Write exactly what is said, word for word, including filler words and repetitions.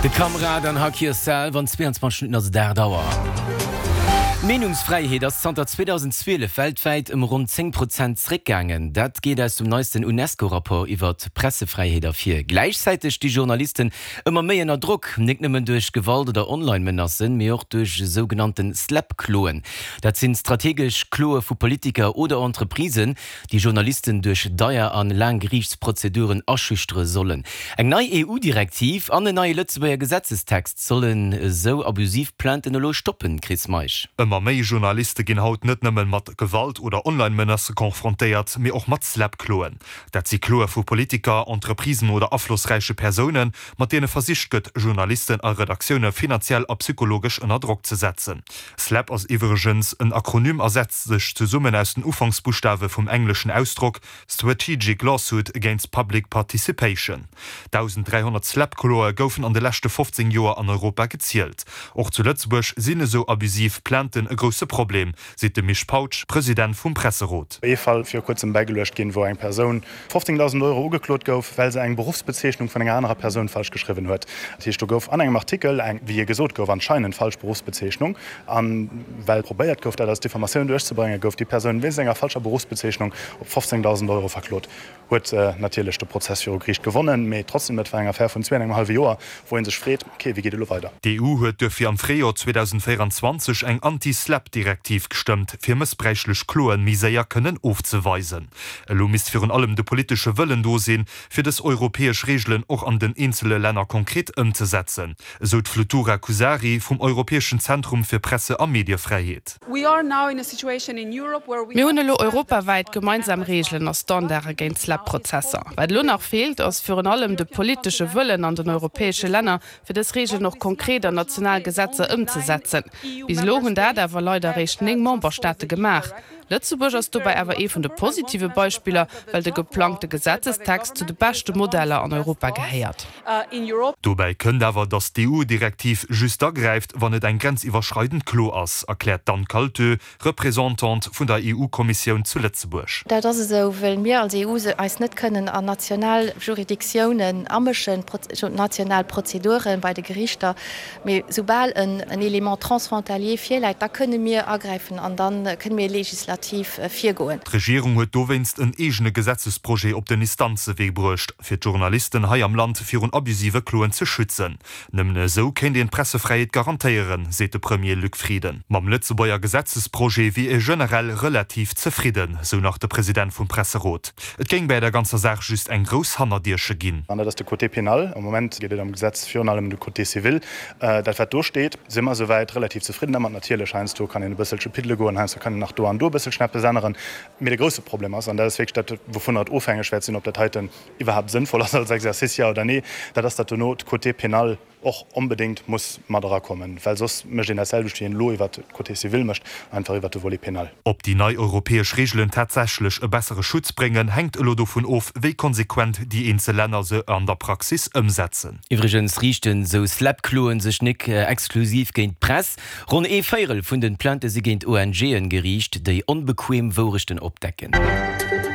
De Kamrad an Hug Yourself an zweeanzwanzeg Minutten ass et aacht Auer. D'Meenungsfräiheet ass zanter zweedausendzwielef weltwäit ëm ronn zéng Prozent zréckgaangen. Dat geet aus dem neisten Unesco-Rapport iwwer d'Pressefräiheet ervir. Gläichzäiteg sti Journalisten ëmmer méi ënner Drock, nik nëmmen duerch Gewalt oder Online-Menacen, mee och duerch sougenannten SLAPP-Kloen. Dat sinn strategesch Kloe vu Politiker oder Entreprisen, déi Journalisten duerch deier an laang Geriichtsprozeduren aschüchtere sollen. Eng nei E U-Direktiv an en neie Lëtzebuerger Gesetzestext sollen esou abusiv Plainten elo stoppen, Chris Meisch. Ëmmer méi Journaliste ginn haut net nëmmen mat Gewalt oder Online-Menacë confrontéiert, mee och mat SLAPP-Kloen. Dat si Kloe vu Politiker, Entreprisen oder aflossräiche Persounen, mat deene versicht gëtt, Journalisten a Redaktioune finanziell a psychologesch ënner Drock ze setzen. SLAPP ass iwwregens en Akronym a setzt sech zesummen aus den Ufanksbuschtawe vum engleschen Ausdrock Strategic Lawsuit Against Public Participation. dausenddräihonnert SLAPP-Kloe goufen an de leschte fofzéng Joer an Europa gezielt. Och zu Lëtzebuerg sinn esou abusiv Plainten e grousse Problem, seet de Misch Pautsch, President vum Presserot. Ee Fall viru kuerzem bäigeluecht ginn, wou eng Persoun fofzéngdausend Euro ugeklot gouf, well se eng Beruffsbezeechnung vun enger anerer Persoun falsch geschriwwen huet. Dat heescht, do gouf an engem Artikel eng, wéi gesot gouf, anscheinend falsch Beruffsbezeechnung, a well probéiert gouf, dat als Diffamatioun duerchzebréngen, gouf déi Persoun wéinst enger falscher Beruffsbezeechnung op fofzéngdausend Euro verklot. Huet natierlech de Prozess viru Geriicht gewonnen, mee trotzdem, dat war eng Affär vun zwee an engem hallwe Joer, wou ee sech freet, okay, wéi geet et elo weider? D'E U huet duerfir am Fréijoer zweedausendvéierundzwanzeg eng Anti-SLAPP-Direktiv gestëmmt, fir mëssbräichlech Kloe méi séier kënnen ofzeweisen. Elo misst virun allem de politesche Wëllen do sinn, fir dës europäesch Reegelen och an den eenzele Länner konkret ëmzesetzen, esou d'Flutura Kusari vum Europäeschen Zentrum fir Presse a Mediefräiheet. Mir hunn elo europawäit gemeinsam Reegelen a Standarde géint SLAPP-Prozesser. Wat elo nach feelt, ass virun allem de politesche Wëllen an den europäesche Länner, fir dës Reegelen och konkret an national Gesetzer ëmzesetzen. Bis elo hunn dat awer leider eréischt néng Memberstaate gemaach. Lëtzebuerg ass dobäi awer ee vun de positive Beispiller, well de geplangte Gesetzestext zu de beschte Modeller an Europa gehéiert. Dobäi kënnt awer, datt d'E U-Direktiv just da gräift, wann et eng grenziwwerschreidend Klo ass, erkläert d'Anne Kaltö, Representante vun der E U-Kommissioun zu Lëtzebuerg. Dat ass esou, wëll mir als E U eis net kënnen an national Juridictiounen amëschen, national Prozedure bei de Geriichter. Mee soubal en Élément transfrontalier virläit, da kënne mir agräifen an da kënne mir legislativ virgoen. D'Regierung huet dowéinst en eegene Gesetzesprojet op den Instanzewee bruecht, fir d'Journalisten hei am Land virun abusive Kloen ze schützen. Nëmmen esou kéint een d'Pressefräiheet garantéieren, seet de Premier Luc Frieden. Mam Lëtzebuerger Gesetzesprojet wier ee generell relativ zefridden, sou nach de President vum Presserot. Et géing bäi der ganzer Saach just eng grouss Hannerdierche ginn. An dat ass de Côté pénal. Am Moment geet et am Gesetz virun allem ëm de Côté civil. Dat, wat do steet, si mer souwäit relativ zefridden dermat. Natierlech, heiansdo kann een e bësselche piddele goen, heiansdo kann een nach do an do e bësselchen eppes änneren. Mee de grousse Problem ass, an dat ass wierklech dat, wouvunner et ofhängeg wäert sinn, ob dat heiten iwwerhaapt sënnvoll ass als Exercice, jo oder nee, dat ass, datt dono de Côté pénal och onbedéngt muss mat erakommen, well soss mécht een dat selwecht, wéi een elo iwwert de Côté civil mécht, einfach iwwert de Volet pénal. Ob déi nei europäesch Reegelen tatsächlech e bessere Schutz bréngen, hänkt elo dovun of, wéi konsequent déi eenzel Länner se an der Praxis ëmsetzen. Iwwregens riichten esou SLAPP-Kloen sech nik exklusiv géint d'Press. Ronn ee Véierel vun den Plainte si géint O N G'en geriicht, déi onbequem Wourechten opdecken.